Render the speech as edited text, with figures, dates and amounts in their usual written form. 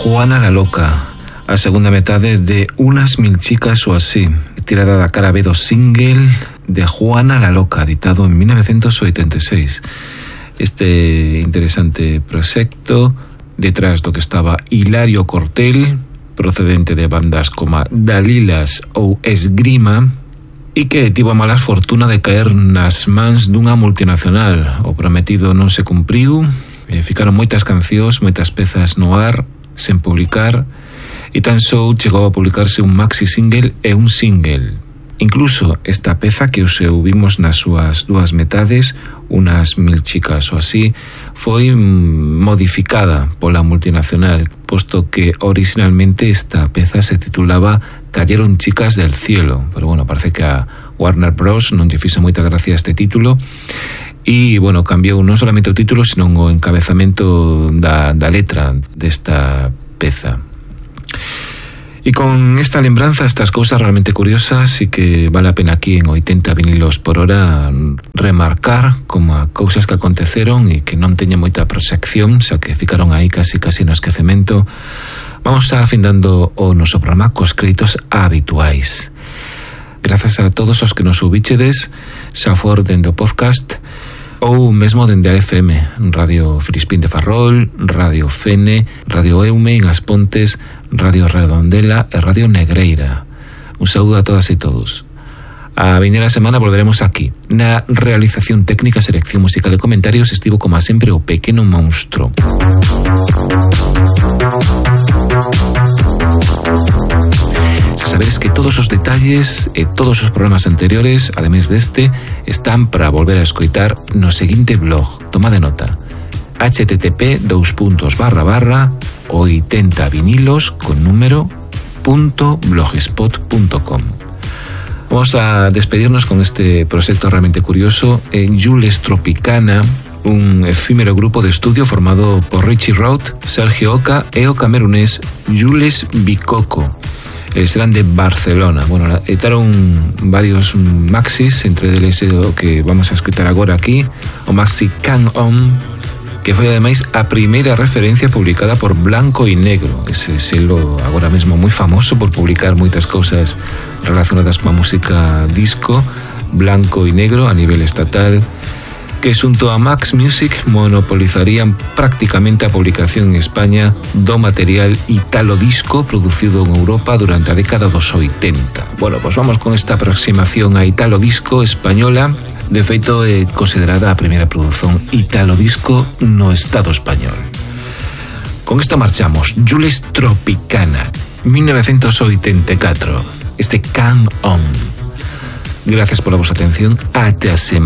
Juana la Loca, a segunda metade de Unas Mil Chicas ou así, tirada da cara B do single de Juana la Loca, editado en 1986. Este interesante proxecto, detrás do que estaba Hilario Cortel, procedente de bandas como Dalilas ou Esgrima, e que tivo a mala fortuna de caer nas mans dunha multinacional. O prometido non se cumpriu, ficaron moitas cancións, moitas pezas no ar, sen publicar, e tan só chegou a publicarse un maxi single e un single. Incluso esta peza que os vimos nas súas dúas metades, Unas Mil Chicas ou así, foi modificada pola multinacional, posto que originalmente esta peza se titulaba Cayeron Chicas del Cielo, pero bueno, parece que a Warner Bros. Non lle fixo moita gracia este título, e, bueno, cambiou non solamente o título, sino o encabezamento da letra desta peza. E con esta lembranza, estas cousas realmente curiosas, sí que vale a pena aquí en 80 vinilos por hora remarcar como a cousas que aconteceron e que non teñen moita proxección, xa que ficaron aí casi no esquecemento. Vamos afindando o noso programa cos créditos habituais. Grazas a todos os que nos subichedes, xa for dende o podcast ou mesmo dende a FM, Radio Filispín de Ferrol, Radio Fene, Radio Eume en As Pontes, Radio Redondela e Radio Negreira. Un saúdo a todas e todos. A vindeira semana volveremos aquí. Na realización técnica, selección musical e comentarios estivo como sempre o pequeno monstro. Sabedes que todos os detalles e todos os programas anteriores, ademais deste, están para volver a escoitar no seguinte blog. Toma de nota: http://80vinilos.blogspot.com. Vamos a despedirnos con este proxecto realmente curioso en Jules Tropicana, un efímero grupo de estudio formado por Richie Roth, Sergio Oca e o camerunés Jules Bikoko. Serán de Barcelona. Bueno, editaron varios maxis, entre deles o que vamos a escutar agora aquí, o maxi Can On, que foi ademais a primeira referencia publicada por Blanco y Negro, ese selo agora mesmo moi famoso por publicar moitas cousas relacionadas coa música disco, Blanco y Negro a nivel estatal, que xunto a Max Music monopolizarían prácticamente a publicación en España do material italo disco producido en Europa durante a década dos 80. Bueno, pues vamos con esta aproximación a italo disco española. De feito, é considerada a primeira produción italo disco no Estado español. Con isto marchamos. Jules Tropicana, 1984. Este Can On. Gracias pola vosa atención. Até a semana.